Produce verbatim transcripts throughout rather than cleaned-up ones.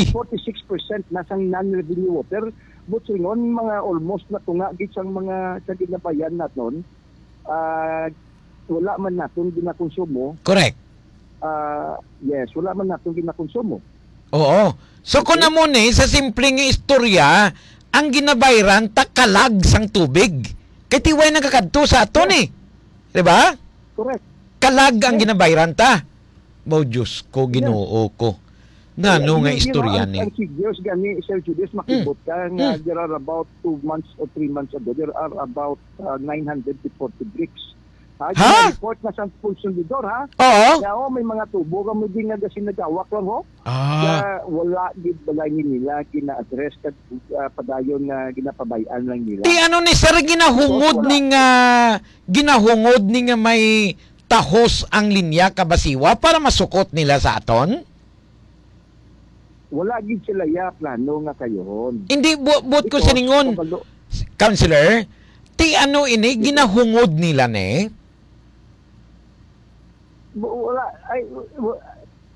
forty-six percent na sang non-revenue water. But silingon, mga almost natunga gid sang mga sa ginabayan naton, ah, wala man naton ginakonsumo. Correct. Ah, yes, wala man naton ginakonsumo. Oo. So, kung Okay. amo ni, sa simpleng istorya, ang ginabayran ta kalag sang tubig. Kay ti way nagakadto sa aton Yes. eh. Di ba? Correct. Kalag ang Yes. ginabayran ta. Mo, Diyos ko, Yes. Ginoo ko. Nano Yeah, nga you, you know, istorya ang, ni? ang figures gani, Sir Julius, Mm. makibot ka nga Mm. there are about two months or three months ago, there are about, uh, nine hundred to forty bricks. Ha? Ha? Gina-report na sa konsumidor, ha? Oo. Nga, oh, may mga tubo ka mo din nga gasin nagawak lang, ho? Ah. Nga wala gid balay ni nila gina-address kag, ah, padayon nga ginapabay-an lang nila. Ti ano ni, sir, ginahungod Wala. ni nga, ginahungod ni nga may tahos ang linya kabasiwa para masukot nila sa aton? Wala gid sila ya plano nga kayon. Hindi, bu-, buot ko Because siningon, kabalo- Counselor, ti ano ini, Yes, sir. ginahungod nila ni? Bu-, wala, ay, wa-,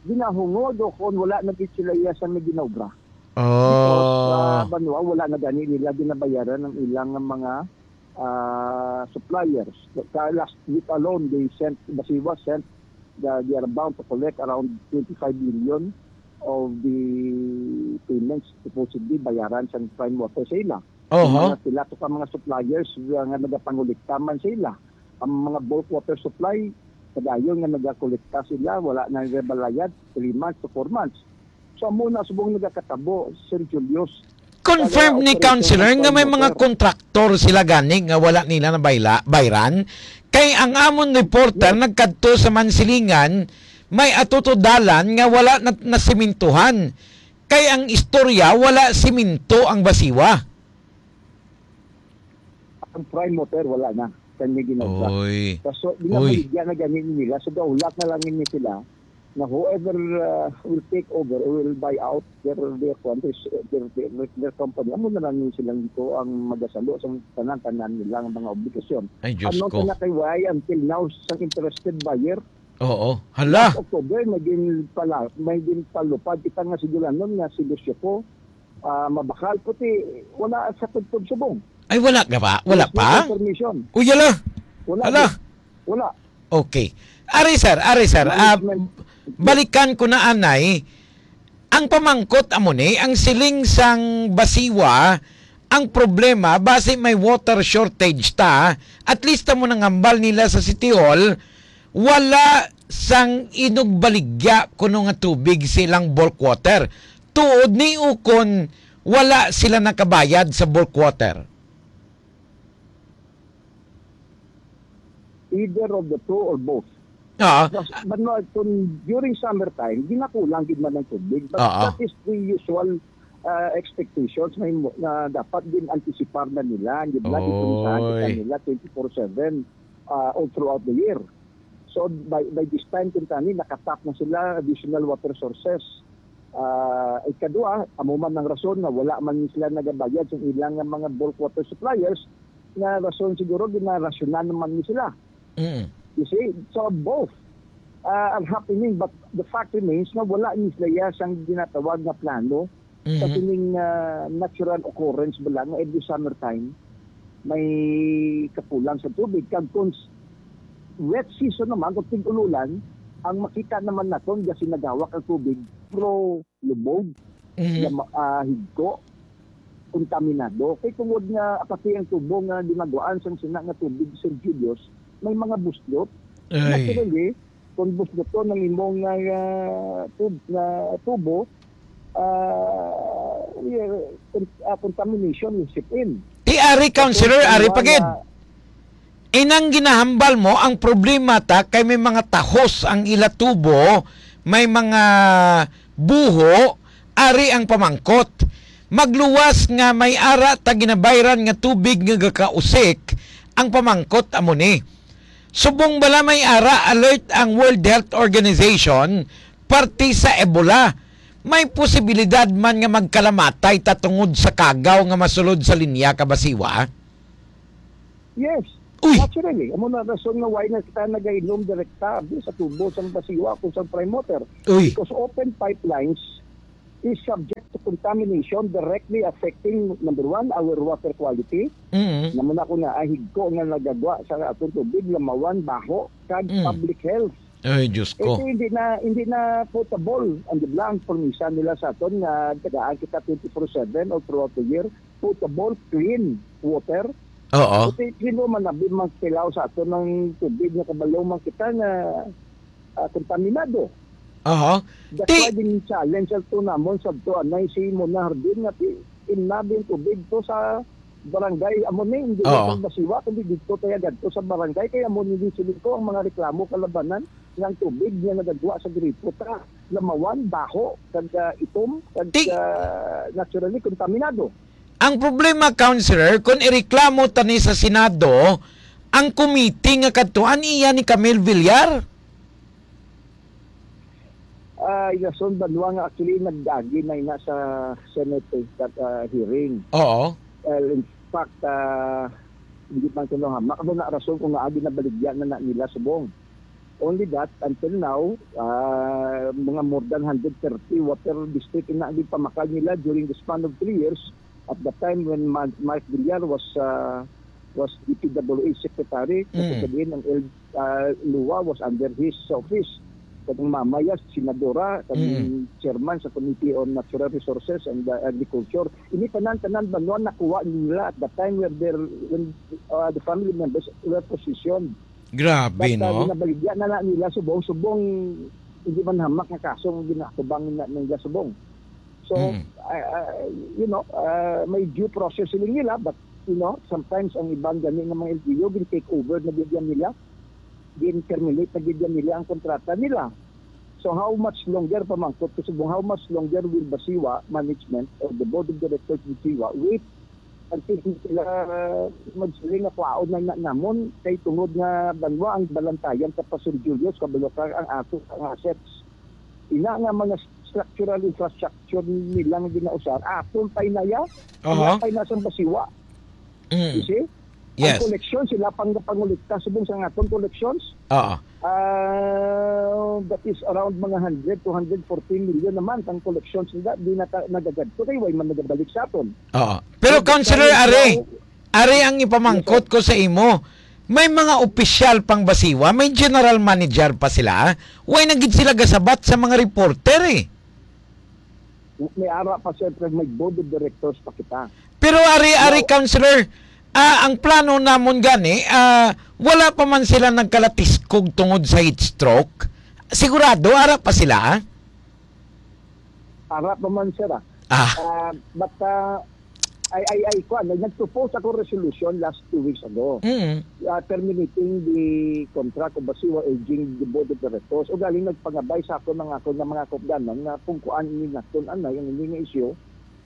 ginahungod o kung wala na gid sila iya sa may ginobra. Because, Oh. ah, banwa, wala na gani nila ginabayaran ang ilang nga mga, ah, suppliers. Sa last week alone, they sent, Basiwa sent the, they are bound to collect around twenty-five million of the payments supposedly bayaran sa Prime Water sa ila. Oho. Ang mga sila to ka mga suppliers nga, nga nagapangulikta man sa ila. Ang mga bulk water supply, padayon nga nagakolekta sila, wala na nila balayad, three months to four months. So, amo na subong nagakatabo, Sir Julius. Confirm Kaya ni operation Counselor ng nga may Prime mga Water. kontraktor sila gani nga wala nila na bayla-, bayran. Kay ang amon reporter Yes. nagkadto sa Mansilingan, may ato to dalan nga wala na, nasimintuhan. Kay ang istorya, wala siminto ang Basiwa. Ang Prime Water, wala na. Kanya ginagda. Oy. Kaso, Uy. ginabaligya na gani nila. So, gaulak na lang ni sila na whoever, uh, will take over or will buy out their, their countries, their, their, their company, amo na lang ni silang ito ang magasalo sa tanan-tanan nilang mga obligasyon. Ay, Diyos Ano ko. ka na kay why until now sa interested buyer? Oo. Hala. Last October, may ginpala-, may ginpalupad kita nga siguranon nga si Lucio ko, ah, mabakal, puti, wala sa tugtog subong. Ay, wala ka pa? Wala Yes, pa? no information. Uy, hala. Wala. Hala. Wala. Okay. Ari, sir. Ari, sir. Ah, Management. balikan ko na, anay. Ang pamangkot amo ni, ang siling sang Basiwa, ang problema, basi may water shortage ta, at least amo nang hambal nila sa City Hall, wala sang inugbaligya kuno nga tubig silang bulk water. Tuod ni ukon wala sila nakabayad sa bulk water. Either of the two or both. Ah. Mas, but no, kung during summertime, ginakulang gid man ang tubig. But Ah. that is the usual, uh, expectations na, himo- na dapat din antisipar na nila, di ba? Di kung saan kita Oy. nila twenty-four seven, uh, all throughout the year. So, by, by this time, kung tani, nakatap na sila, additional water sources. Ah, ikadua, amo man ang rason nga wala man sila nagabayad sa ilang nga mga bulk water suppliers, nga rason siguro, ginarasyonan naman ni sila. Mm. You see? So, both, ah, are happening, but the fact remains nga wala ni sila ya sang ginatawag nga plano sa Mhm. sining, ah, natural occurrence bala nga every summertime may kakulang sa tubig. Kag kung s-, wet season naman, kung tig-ululan, ang makita naman naton, gasin nagawak ang tubig, pro lubog, Mhm. nga ma-, ah, higko, kontaminado. Kay tungod nga apati ang tubo nga ginaguan sang sina nga tubig, Sir Julius, may mga buslot. Ay. Naturally, kung busloton ang imong nga, ah, tub-, nga tubo, ah, yeah, con-, ah, contamination will seep in. Ti ari, Counselor, Tapos, ari ang pa gid. mga Inang ginahambal mo, ang problema ta kay may mga tahos ang ila tubo, may mga buho, ari ang pamangkot. Magluwas nga may ara ta ginabayran nga tubig nga gakausik, ang pamangkot amo ni. Subong bala may ara alert ang World Health Organization parte sa Ebola? May posibilidad man nga magkalamatay ta tungod sa kagaw nga masulod sa linya ka Basiwa? Yes. Uy! Naturally, amo na rason nga why na kita nagainom direkta abi sa tubo sang Basiwa kung sang Prime Water. Uy! Because open pipelines is subject contamination directly affecting, number one, our water quality. Mm. Namo na ko nga, ah, higko nga nagagwa sa atong tubig, lamawan, baho, kag Mm. public health. Ay, Diyos ko. Ito hindi na, hindi na potable. Ang di ba, ang promisa nila sa aton nga tagaan kita twenty-four seven or throughout the year, potable, clean water. Oo. Ito yung sino man abi magtilaw sa aton ng tubig nga kabalo man kita nga, ah, kontaminado. Aha. That's Ti- why din challenge ang to namon sa to anay si Mona Hardin nga ti-, inabi ang tubig to sa barangay. Amo ni, hindi Oo. Sa Basiwa, kundi dito tayo gadto sa barangay. Kaya mo nili siling ko ang mga reklamo kalabanan nga ang tubig nga nagagwa sa gripo ta lamawan, baho, kag, ah, itom, kag, Ti- ah, naturally kontaminado. Ang problema, Counselor, kung ireklamo tani sa Senado, ang committee nga kadtuan iya ni Camille Villar. Ah, Yason Banwa nga actually nag-agi na ina sa Senate, eh, that, ah, hearing. Oo. Well, in fact, ah, hindi man kuno hamak. Ano na rason kung naagi na baligya na, na nila subong? Only that, until now, ah, mga more than hundred thirty water district ina ang pamakal nila during the span of three years. At the time when Ma-, Mark Villar was, ah, was D P W H secretary, Mm. kasi sabihin ang L-, ah, Lua was under his office. Kag ang mama niya, senadora, kag Mm. chairman sa Committee on Natural Resources and, ah, Agriculture. Ini tanan-tanan ba no nakuha nila at the time where their, when, ah, the family members were positioned. Grabe, But, ah, no? Ginabaligya na lang nila subong-subong, hindi man hamak nga kaso ang ginatubang na nila subong. So, Mm. I, I, you know, ah, may due process sila nila, but, you know, sometimes ang ibang gani nga mga L G U, gin-take over na gid yan nila, gin-terminate na gid yan nila ang kontrata nila. So, how much longer, pamangkot ko subong, how much longer will Basiwa management or the board of directors of Basiwa wait until sila magsiling nga kwaon na, na namon kay tungod nga banwa ang balantayan sa Pastor Julius, kabalo ka ang ato ang assets. Ina nga mga structural infrastructure nila nga ginausar, aton pay naya, Aha. ina pay na sang Basiwa. Mm. You see? Yes. Ang collection, sila pang pangolekta subong sa aton collections. Oo. Ah, that is around mga hundred to hundred forty million naman ang collections nila. Di na ta-, nagagadto kay way man nagabalik sa aton. Oo. Pero, So, Councilor, that's why Are, now Are ang ipamangkot Yes, sir. ko sa imo. May mga opisyal pang Basiwa, may general manager pa sila. Way na gid sila gasabat sa mga reporter, eh. May ara pa, sir, pero may board of directors pa kita. Pero ari, ari, Now, Councilor, ah, ang plano namon gani, ah, wala pa man sila nagkalatiskog tungod sa heat stroke. Sigurado, ara pa sila? Ara pa man, sir, ah. Ah. Ah, but, ah, I, I, I, kuwan, nag-, nag-propose ako resolution last two weeks ago. Mm. Ah, terminating the contract of Basiwa, urging the board of directors. O galing nagpangabay sa ako mga ako nga mga kaupdanan nga kung kuan ini naton anay ang ini nga isyu.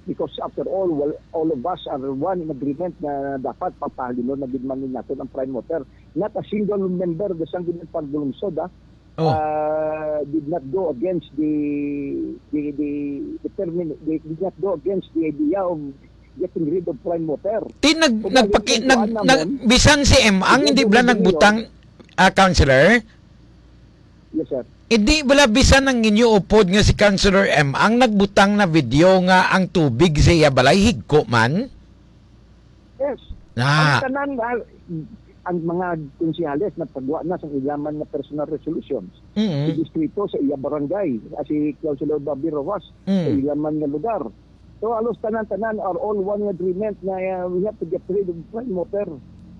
Because after all, well, all of us are one in agreement na dapat papahalino na gid man ni naton ang Prime Water. Not a single member of the Sangguniang Pagdulungsod, ah, Oh. ah, did not go against the, the, the, the termin-, they did not go against the idea of getting rid of Prime Water. Ti nag-, Kung nagpaki-, nag-, nag-, kuan namon, bisan si M Ang hindi bala nagbutang, ah, Councilor? Yes, sir. Hindi bala bisan ang inyo upod nga si Councilor M Ang nagbutang na video nga ang tubig sa iya balay higko man? Yes. Ah. Ang tanan, ah, ang mga konsehales nagpagwa na sa ilaman nga personal resolutions. Mm. Si distrito sa iya barangay, ah, si Councilor Bobby Rojas, Mm. sa ilaman nga lugar. So, halos tanan-tanan are all one agreement na, ah, we have to get rid of Prime Water.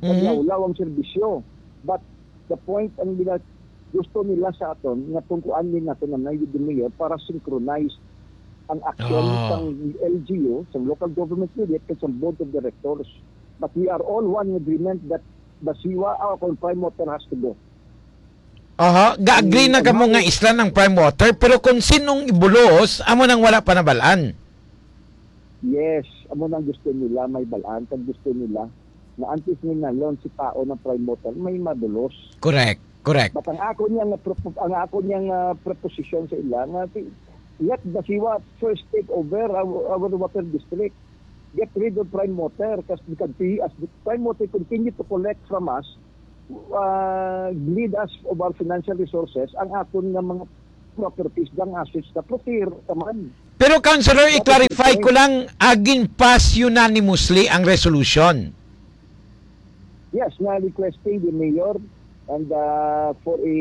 Mm. Paglawlaw ang serbisyo. But the point, ang gina-, gusto nila sa aton, nga tungkuan din natin ang Nayib de Mayor para synchronize ang action Ah. sang L G U, sang local government unit, kag sang board of directors. But we are all one in agreement that Basiwa, ah, kung Prime Water has to go. Aha, ga-agree na kamo nga isla ng Prime Water, pero kung sinong ibulos, amo nang wala pa nabalaan. Yes, amo nang gusto nila, may balaan, kag gusto nila na antes ni nalon si tao ng Prime Water, may mabulos. Correct, correct. But ang ako niya nga propo-, ang ako niya nga proposition sa ila nga si, let Basiwa first take over our, our water district. Get rid of Prime Water, 'cause because we, as the Prime Water continue to collect from us, uh, bleed us of our financial resources, ang aton nga mga properties, ang assets na, procure ka man. Pero, Councilor, That is i-clarify it. ko lang, ah, gin-pass unanimously ang resolution. Yes, nga requesting the mayor and, uh, for a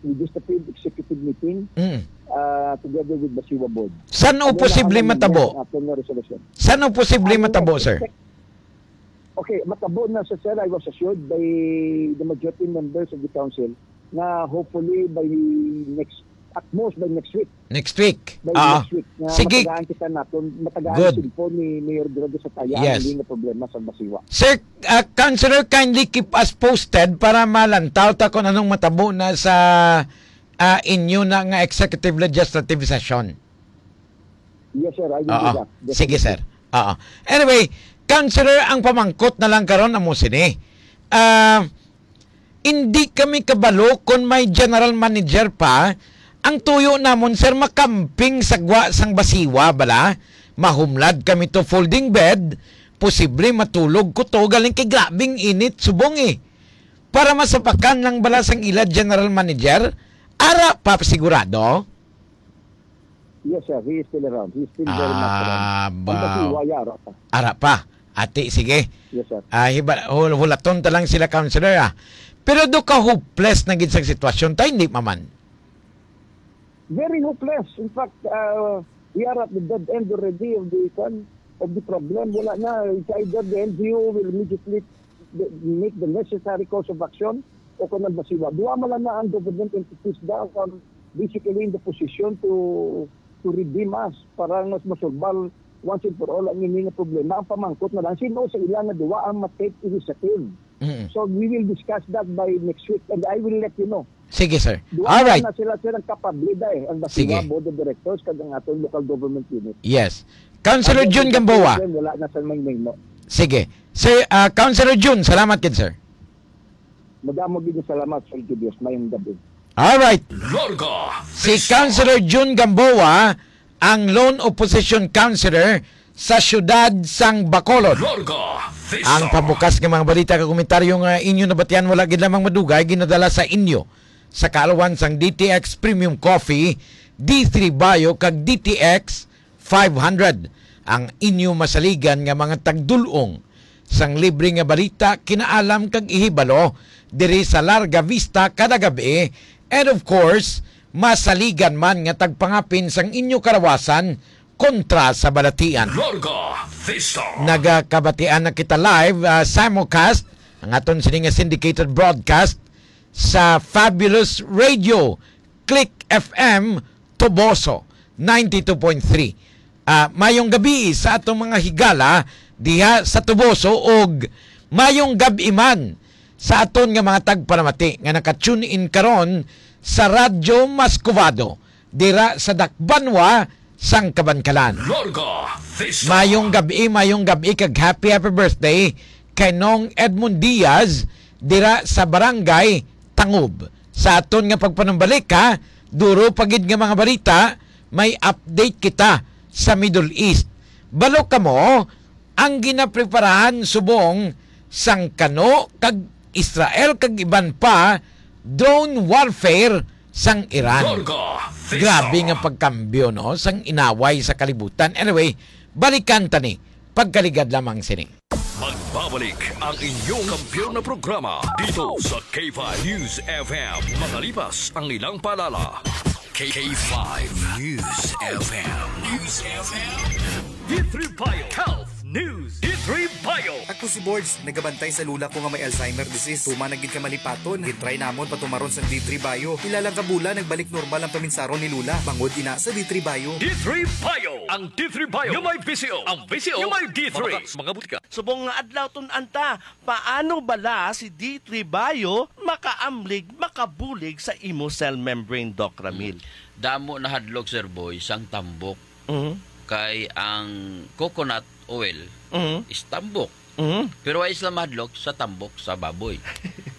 legislative executive meeting, Mm. uh, together with Basiwa Board. San o Ano na posible ang matabo? ang aton nga resolution? San o posible Ang matabo, sir? expect-, okay, matabo na sa, sir, I was assured by the majority members of the council na hopefully by next, at most by next week. Next week. By Ah, next week, nga sige. matagaan kita naton, matagaan Good. Cellphone ni Mayor Duro Desataya ang Yes. hindi nga problema sa Basiwa. Sir, ah, Councilor, kindly keep us posted para malantaw ta kung anong matabo na sa, ah, inyo na nga executive legislative session. Yes, sir. I will do Oo. that. Sige, Definitely. sir. Oo. Anyway, Councilor, ang pamangkot na lang karon amo sini. Ah, Hindi kami kabalo kon may general manager pa. Ang tuyo namon, sir, makamping sa gwa sang Basiwa bala. Mahumlad kami to folding bed. Posible matulog ko to galing kay grabing init subong, eh. Para masapakan lang bala sang ila general manager, ara pa sigurado? Yes, sir. He is still around. He is still very much around. Ah, Ang ba- Basiwa, ara pa. Ara pa. Ati, sige. Yes, sir. Ah, hiba-, hul-, hulaton ta lang sila, Councilor, ah. Pero do ka hopeless na gid sa sitwasyon, tay, hindi pa man. Very hopeless. In fact, uh, we are at the dead end already of the, kwan, of the problem. Wala na. It's either the L G U will immediately the, make the necessary course of action o kung ang Basiwa. Duha man lang na ang government entities daw ang basically in the position to to redeem us para mas masolbal once and for all ang ini nga problema. Ang pamangkot na lang, sino sa ila nga duwa ang ma-take initiative? Mm. So, we will discuss that by next week and I will let you know. Sige, sir. Duha All right. na sila, sir, ang kapable da eh, ang Basiwa Sige. Board of Directors kag ang aton local government unit. Yes. Councilor Ang Jun Gamboa. Wala na sa may name, no? Sige. Sir, ah, Councilor Jun, salamat gid, sir. Madamo gid nga salamat, Sir Julius. Mayong gabi. All right. Larga Si Vista. Councilor Jun Gamboa, ang lone opposition councilor sa siyudad sang Bacolod. Larga Vista. Ang pabukas nga mga balita kag komentaryo nga inyo nabatian wala gid lamang madugay ginadala sa inyo sa kaalawan sang D T X Premium Coffee, D three Bio kag D T X five hundred ang inyo masaligan nga mga tagdulong sang libre nga balita, kinaalam kag ihibalo diri sa Larga Vista kada gab-i, and of course, masaligan man nga tagpangapin sang inyo kalawasan kontra sa balatian. Larga Vista. Nagakabatian na kita live, ah, simulcast, ang aton sini nga syndicated broadcast sa Fabulous Radio, Click F M, Toboso, ninety-two point three. Ah, mayong gabi sa atong mga higala diha sa Toboso, og mayong gab-i man sa aton nga mga tagpanamati nga naka-tune in karon sa Radyo Mascovado, dira sa Dakbanwa sang Kabankalan. Larga Vista. Mayong gab-i, mayong gab-i, kag happy, happy birthday kay Nong Edmond Diaz dira sa Barangay Tangob. Sa aton nga pagpanumbalik, ha, duro pa gid nga mga balita, may update kita sa Middle East. Balo kamo, ang ginapreparahan subong sang Kano kag Israel kag iban pa, drone warfare sang Iran. Larga Vista. Grabe nga pagkambyo, no, sang inaway sa kalibutan. Anyway, balikan ta ni. Pagkaligad lamang sini. Magbabalik ang inyong kampiyon na programa dito sa K five News F M. Makalipas ang ilang paalala. K five News F M. News F M. D three Bio Health News. D three Bio. Ako si Borge, nagabantay sa lula ko nga may Alzheimer disease. Tuman na gid ka malipaton. Gitry namon patumaron sa D three Bio. Pila lang ka bulan, nagbalik normal ang paminsaron ni lula. Bangod ina sa D three Bio. D three Bio. Ang D three Bio nga may V C O. Ang V C O nga may D three. Mga, mga butika. Subong nga adlaw, tun-an ta, paano bala si D three Bio makaamlig, makabulig sa imo cell membrane, Doc Ramil? Damo na hadlok, Sir Boy, sang tambok. Mhm. Kay ang coconut oil Mhm. is tambok. Mhm. Pero wala sila mahadlok sa tambok sa baboy.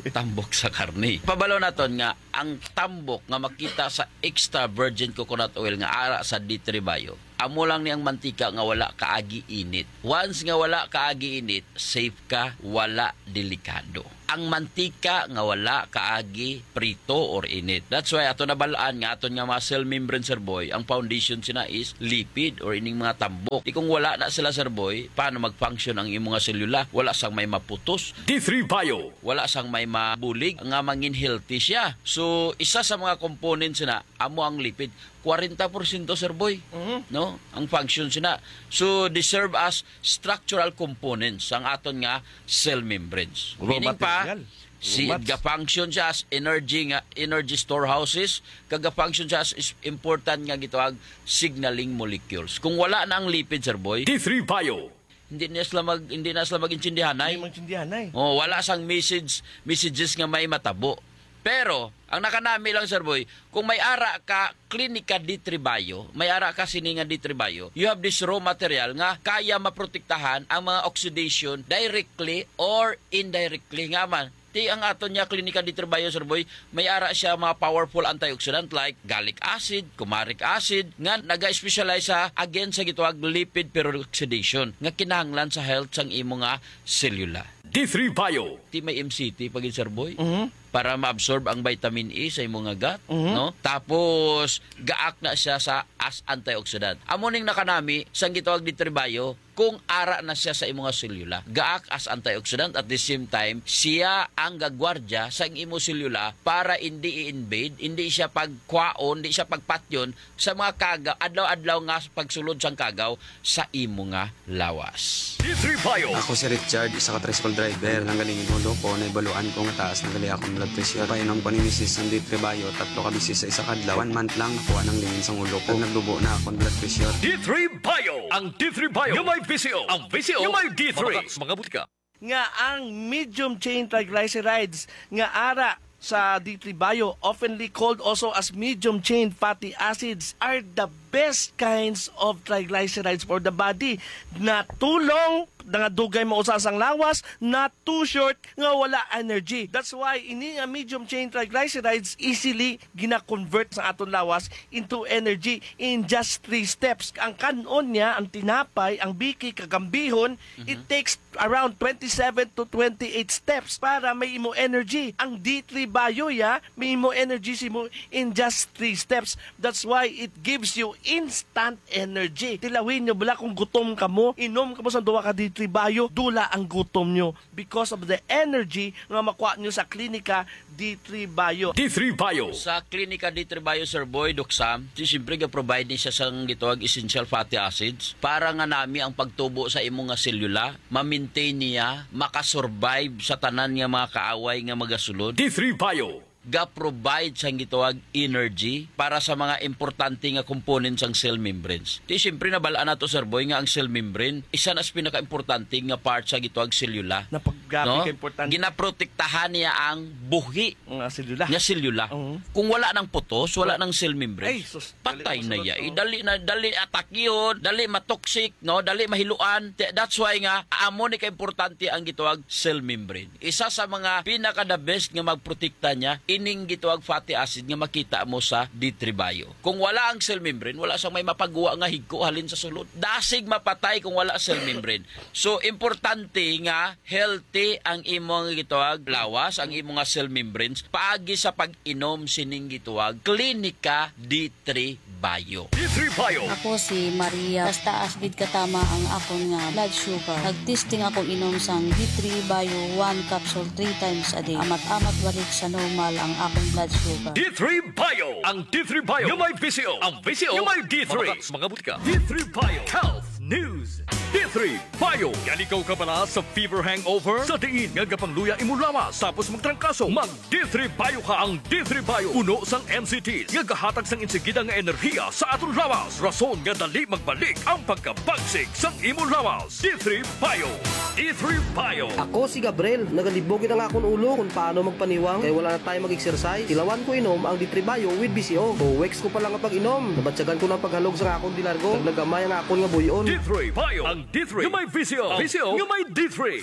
Tambok sa karne. Pabalo naton nga ang tambok nga makita sa extra virgin coconut oil nga ara sa D three Bio, amo lang ni ang mantika nga wala kaagi init. Once nga wala kaagi init, safe ka, wala delikado. ang mantika nga wala kaagi prito or init. That's why ato nabal-an nga aton nga mga cell membrane, Sir Boy, ang foundation sina is lipid or ining mga tambok. Di kung wala na sila, Sir Boy, paano mag-function ang imo nga selula? Wala sang may maputos. D three Bio. Wala sang may mabulig nga mangin healthy siya. So, isa sa mga components na amo ang lipid. Kwarenta porsyento, Sir Boy, Mhm. no? Ang function sina. So, they serve as structural components ang aton nga cell membranes. Raw Meaning pa, material. Raw si, mats. Ga-function siya as energy nga, energy storehouses, kag ga-function siya as is important nga gitawag signaling molecules. Kung wala na ang lipid, Sir Boy, D three Bio. Hindi na sila mag, hindi na sila mag-intindihanay. Hindi maintindihanay. Oh, wala sang message, messages nga may matabo. Pero, ang nakanami lang, Sir Boy, kung may ara ka klinika D three Bio, may ara ka sini nga D three Bio, you have this raw material nga kaya maprotektahan ang mga oxidation directly or indirectly. Nga man, ti ang aton nga klinika D three Bio, Sir Boy, may ara siya mga powerful antioxidant like gallic acid, comaric acid, nga naga-specialize sa against sa gitawag lipid peroxidation nga kinahanglan sa health sang imo nga selula. D three Bio. Ti may M C T pa gid, Sir Boy, Mhm. para ma-absorb ang vitamin E sa imo nga gut, Mhm. no? Tapos gaak na siya sa as antioxidant. Amo ning nakanami sang gitawag D three Bio kung ara na siya sa imo nga selula. Gaak as antioxidant, at the same time, siya ang gagwardya sa imo selula para hindi i-invade, hindi siya pagkwaon, hindi siya pagpatyon sa mga kagaw, adlaw-adlaw nga pagsulod sang kagaw sa imo nga lawas. D three Bio. Ako si Richard, isa ka tricycle driver. Ang galing yung ulo ko, naibaluan ko nga taas na gali akong blood pressure. Painom ko ni misis ang D three Bio, tatlo ka bisis sa isa ka adlaw. One month lang, nakuha ng lingin sang ulo ko. Nagdubo na akong blood pressure. D three Bio. Ang D three Bio nga may V C O. Ang V C O nga may D three. Mga butika. Nga ang medium chain triglycerides nga ara sa D three Bio, oftenly called also as medium chain fatty acids, are the best kinds of triglycerides for the body. Natulong nga dugay mausa sang lawas, na too short nga wala energy. That's why ini nga medium chain triglycerides easily gina-convert sa aton lawas into energy in just three steps. Ang kan-on niya, ang tinapay, ang biki, kagambihon, it Mhm. takes around twenty-seven to twenty-eight steps para may imo energy. Ang D three Bio, ya, may imo energy simo in just three steps. That's why it gives you instant energy. Tilawin nyo bala kung gutom kamo, inom kamo sa duha ka D three Bio, dula ang gutom nyo because of the energy nga makuha nyo sa klinika D three Bio. D three Bio. Sa Klinika D three Bio, Sir Boy, Doc Sam, si siyempre ga-provide ni siya sang gitawag essential fatty acids para nga nami ang pagtubo sa imo nga selula, ma-maintain niya, makasurvive sa tanan nga mga kaaway nga magasulod. D three Bio. Ga-provide sang gitawag energy para sa mga importante nga components sang cell membranes. Di siyempre nabal-an nato, Sir Boy, nga ang cell membrane isa na sa pinakaimportante nga part sa gitawag selula. Na pag-, grabe No? ka importante. Ginaprotektahan niya ang buhi Nga selula. nga selula. Oo. Kung wala nang putos, wala Wa-, nang cell membrane. Ay, sus, dali Patay na masulod, ya. no? Eh, dali na, dali atakihon, dali matoxic, no? Dali mahiluan. Te-, that's why nga, amo ni kaimportante ang gitawag cell membrane. Isa sa mga pinaka the best nga magprotekta niya, ining gitawag fatty acid nga makita mo sa D three Bio. Kung wala ang cell membrane, wala sang may mapagwa nga higko halin sa sulod. Dasig mapatay kung wala cell membrane. So, importante nga healthy ang imo nga gitawag lawas, ang imo nga cell membranes, paagi sa pag-inom sining gitawag Klinika D three Bio. D three Bio. Ako si Maria. Taas-taas gid katama ang akon nga blood sugar. Nag-testing ako inom sang D three Bio one capsule three times a day. Amat-amat balik sa normal ang akon blood sugar. D three Bio. Ang D three Bio nga may V C O. Ang V C O nga may D three. Mga, mga butika. D three Bio. Health News. D three Bio. Yalikaw ka bala sa fever hangover? Sa diin nga gapangluya imo lawas tapos magtrangkaso, mag D three Bio ka. Ang D three Bio puno sang N C Ts nga gahatag sang insigida nga enerhiya sa aton lawas, rason nga dali magbalik ang pagkabagsik sang imo lawas. D three Bio. D three Bio. Ako si Gabriel. Nagalibog gid ang akon ulo kung paano magpaniwang kay wala na tayo mag-exercise. Tilawan ko inom ang D three Bio with V C O. Two weeks ko pa lang nga pag-inom, nabatyagan ko na ang paghalog sa akon dilargo. Naglagamay ang akon nga buy-on. D three Bio. Ang D three nga may V C O. Ang V C O nga may D three.